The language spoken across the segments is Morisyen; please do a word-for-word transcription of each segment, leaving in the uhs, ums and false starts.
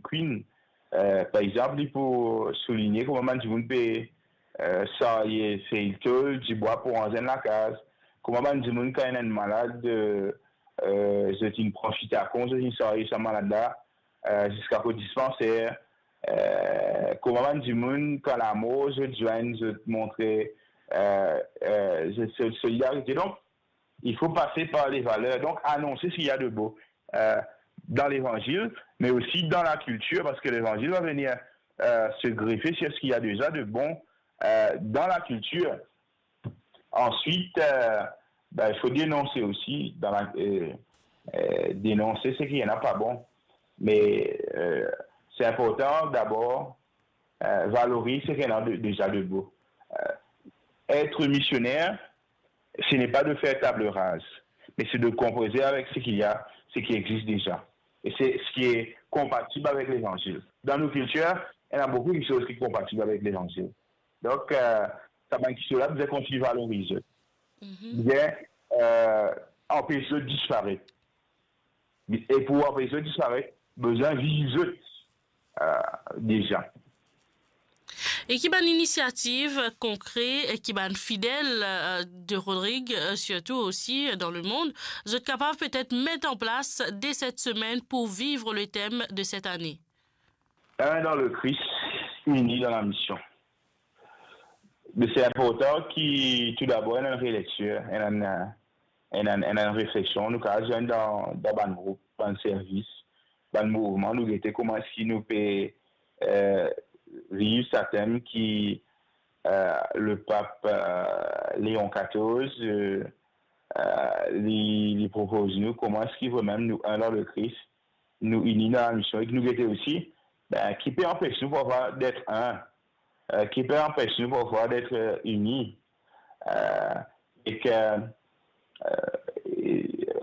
Queen, eh, par exanp, li pou souligne kouma bann dimoun pe, eh, sarye fey tol, dibwa pou ranz enn lakaz, kouma bann dimoun kan ena enn malad, eh, eh, zot inn pran fitako, zot inn sarye sa malad la, eh, ziska kot dispanser, eh, kouma bann dimoun kan lamor zot zwenn, zot montre, eh, eh, zot, zot solidarite. Donk, il faut passer par les valeurs. Donc, annoncer ce qu'il y a de beau, euh, dans l'évangile, mais aussi dans la culture, parce que l'évangile va venir, euh, se greffer sur ce qu'il y a déjà de bon, euh, dans la culture. Ensuite, euh, ben, il faut dénoncer aussi, dans la, euh, euh, dénoncer ce qui n'est pas bon. Mais, euh, c'est important d'abord, euh, valoriser ce qui est de- déjà de beau. Euh, être missionnaire, ce n'est pas de faire table rase, mais c'est de composer avec ce qu'il y a, ce qui existe déjà. Et c'est ce qui est compatible avec l'évangile. Dans nos cultures, il y a beaucoup de choses qui sont compatibles avec l'évangile. Donc, euh, sa bann kiksoz la, bizin kontign valorize. Bizin, euh, anpes zot disparet. E pou anpes zot disparet, bizin viv zot, euh, déjà. E ki bann inisiativ konkre, e ki bann fidel, euh, de Rodrigue, euh, surtout aussi, euh, dans le monde, zot kapav petet met an plas de cette semaine pour vivre le thème de cette année? Un dans le Christ, uni dans la mission. Mais c'est important ki, tou dabor, ena enn relecture, ena enn, ena enn, ena enn refleksion, nou kapav zwenn dan, dan bann group, bann servis, bann mouvman, nou gete kouma eski nou pe, euh, viv sa tem ki, euh, le pap, euh, Léon quatorze, euh, euh, li, li propoz nou, kouma eski vremem nou, un dans le Christ, nou ini dan lamision, e ki nou gete osi, ben, ki pe anpes nou parfwa d'être un, euh, ki pe anpes nou parfwa d'être, euh, ini, euh, e ki, euh,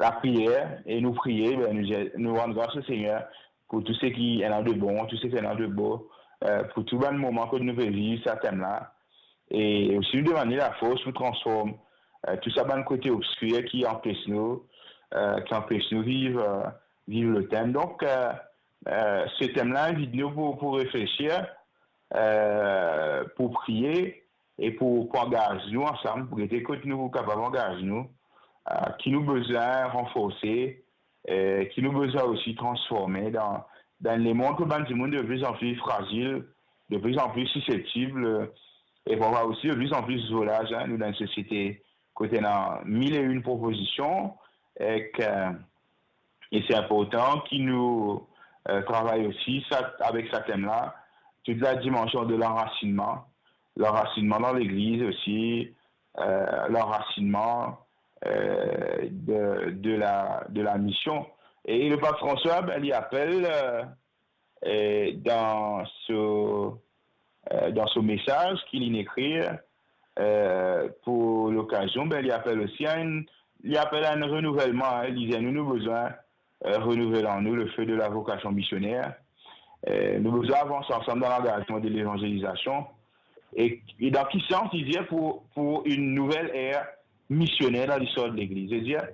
lapriyer, e nou priye, ben, nou, nou rann gras Lesegner pou tou seki ena de bon, tou seki ena de bo, euh, pou tou bann moman kot nou pe viv sa tem la, e osi nou demann li lafors pou transform, euh, tou sa bann kote obskir ki anpes nou, euh, ki anpes nou viv, euh, viv le tem. Donk, euh, euh, se tem la invit nou pou, pou reflesir, euh, pou priye e pou, pou angaz nou ansam, pou gete kot nou kapav angaz nou, euh, ki nou bizin ranforse, euh, ki nou bizin osi transforme dan, dan lemond kot bann dimoun de plus en plus frazil, de plus en plus susceptible, euh, e parfwa osi de plus en plus volaj, hein, nou dan enn sosiete kot ena mil e enn propozision, e ki, euh, e se inportan ki nou, euh, travay osi sa, avek sa tem la, tout la dimansion de lanrasinman, lanrasinman dan legliz osi, euh, lanrasinman, euh, de, de la, de la mision. E le pap Franswa, ben, li apel, euh, euh, dan so, euh, dan so mesaz ki li ekrir, euh, pou lokazion, ben, li apel osi a enn, li apel a enn renouvelman, hein, li dir nou, nou bizin, euh, renouvel an nou le feu de la vocation missionnaire. Euh, nou bizin avans ansam dan langazman de levanzelizasion. E, e dan ki sans li dir pou, pou enn nouvel er misioner dan listwar de legliz? Se dir,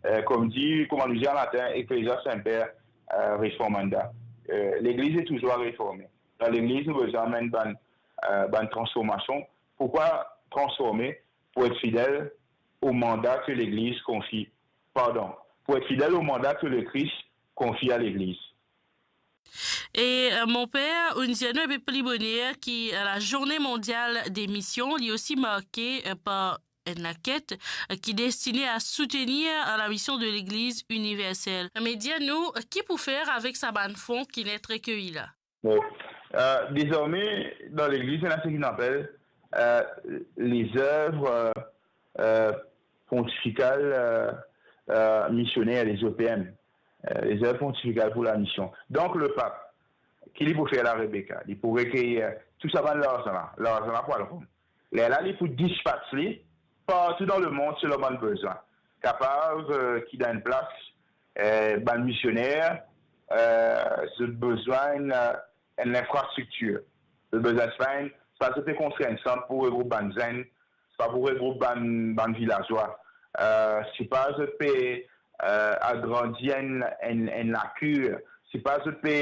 euh, kouma dir, kouma nou dir an latin, Ecclesia semper, euh, reformanda. Euh, legliz est toujours à réformer. Dan legliz, nou bizin amenn bann, euh, bann transformasion. Pourquoi transformer? Pour être fidèle au mandat que l'Église confie, pardon, pour être fidèle au mandat que le Christ confie à l'Église. E, euh, mon per, ou inn dir nou enpe pli boner ki, euh, la Journée mondiale des missions, li osi marke, euh, par enn laket, euh, ki destine a soutenir, euh, la mission de l'Église universelle. Me dir nou, euh, ki pou fer avek sa bann fon ki inn et rekeyi la? Bon, euh, dezorme, dan legliz, ena seki nou apel, euh, les œuvres, euh, euh, pontificales, euh, euh, missionnaires, les O P M, euh, les œuvres pontificales pour la mission. Donk, le pap, ki li pou fer la, Rebecca? Li pou rekeyi, euh, tou sa bann larzan la. Larzan la pou al Rom. Lerla li pou dispats li partou dan lemond selon bann bizin. Kapav, euh, ki dan enn plas, euh, bann misioner, euh, zot bizin enn, euh, enn linfrastriktir. Zot bizin, se pa enn, se pa zot pe konstrir enn sant pou regroup bann zenn, se pa pou regroup bann, bann vilazwa. Euh, se pa zot pe, euh, agrandi enn, enn, enn lakir. Se pa zot pe,